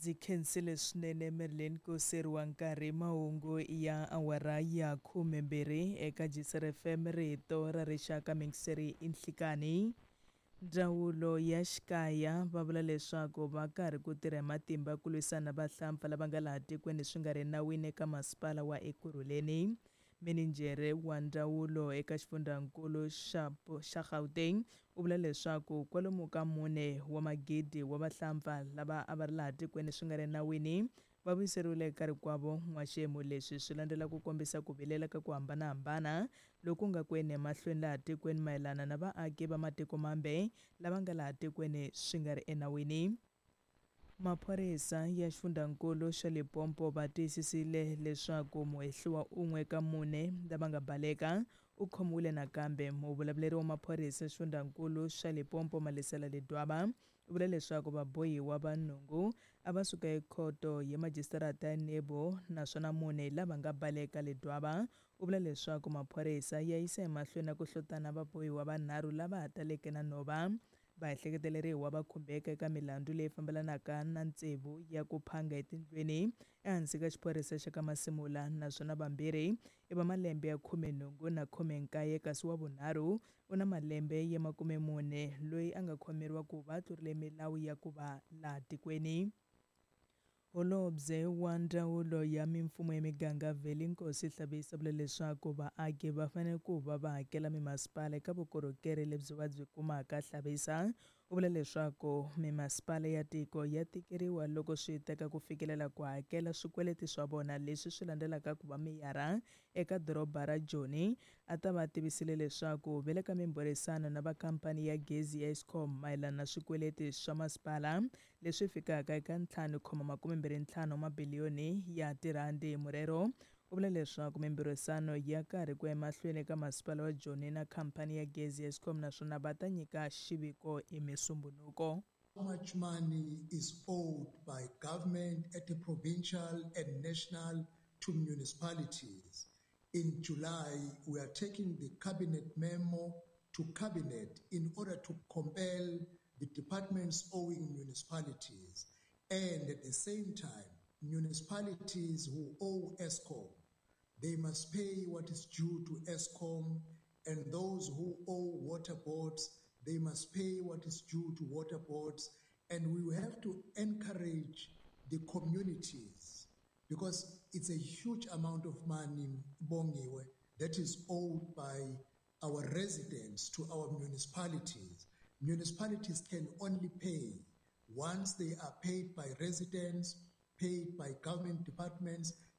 Ndzi khensile swinene Merlin ku seriwa nkarhi. Mahungu ya awara ya 12 eka GCR FM, rito ra rixaka, mingiseri i nhlikani. Ndzawulo ya xikaya va vula leswaku va karhi ku tirha hi matimba ku lwisana na vahlampfa lava nga laha tikweni swi nga ri nawini eka masipala wa Ekurhuleni. Mininjhere wa ndzawulo eka xifundzankulu xa xa Gauteng u vula leswaku kwalomu ka mune wa magidi wa vahlampfa lava a va ri laha tikweni swi nga ri nawini va vuyiseriwile eka rikwavo n'waxemu. Leswi swi landzela ku kombisa ku vilela ka ku hambanahambana loku nga ku yeni emahlweni laha tikweni mayelana na vaaki va matiko mambe lava nga laha tikweni swi nga ri enawini. Maphorisa ya xifundzankulu xa Limpopo va tiyisisile leswaku muhehliwa un'we ka mune lava nga baleka u khomiwile nakambe. Muvulavuleri wa maphorisa xifundzankulu xa Limpopo, Malesela Ledwaba, u vula leswaku vabohiwa va nhungu a va suka ekhoto ya majisitarata ya Nebo naswona mune lava nga baleka. Ledwaba u vula leswaku maphorisa ya yisa emahlweni na ku hlotana vabohiwa vanharhu lava ha taleke na nhova. Vaehleketeleriwa va khumbeka eka milandzu leyi fambelanaka na tsevu ya ku phanga etindlwini ehansi ka xiphorisa xa ka Masimula, naswona vambirhi i va malembe ya 18 na 19, kasi wa vunharhu u na malembe ya 40, loyi a nga khomeriwa ku va a tlurile milawu ya ku va laha tikweni. Holobye wa Ndzawulo ya Mimfumo ya Miganga Veli Nkosi Hlabisa vula leswaku vaaki va fanele ku va va hakela mimasipala eka vukorhokeri lebyi va byi kumaka. Hlabisa u vula leswaku mimasipala ya tiko ya tikeriwa loko swi teka ku fikelela ku hakela swikweleti swa vona, leswi swi landzelaka ku va meyara eka doroba ra Joni a ta va tivisile leswaku va le ka mimbhurisano na va khampani ya gezi ya Eskom mayelana na swikweleti swa masipala leswi fikaka eka 5.25 wa mabiliyoni ya tirhandi. Morero u vula leswaku mimbhurisano ya karhi ku ya emahlweni eka masipala wa Joni na khampani ya gezi ya Eskom, naswona va ta nyika xiviko hi Musumbhunuko. How much money is owed by government at the provincial and national to municipalities? In July, we are taking the cabinet memo to cabinet in order to compel the departments owing municipalities, and at the same time, municipalities who owe Eskom, they must pay what is due to Eskom, and those who owe water boards, they must pay what is due to water boards. And we have to encourage the communities, because it's a huge amount of money, Bongiwe, that is owed by our residents to our municipalities. Municipalities can only pay once they are paid by residents, paid by government departments.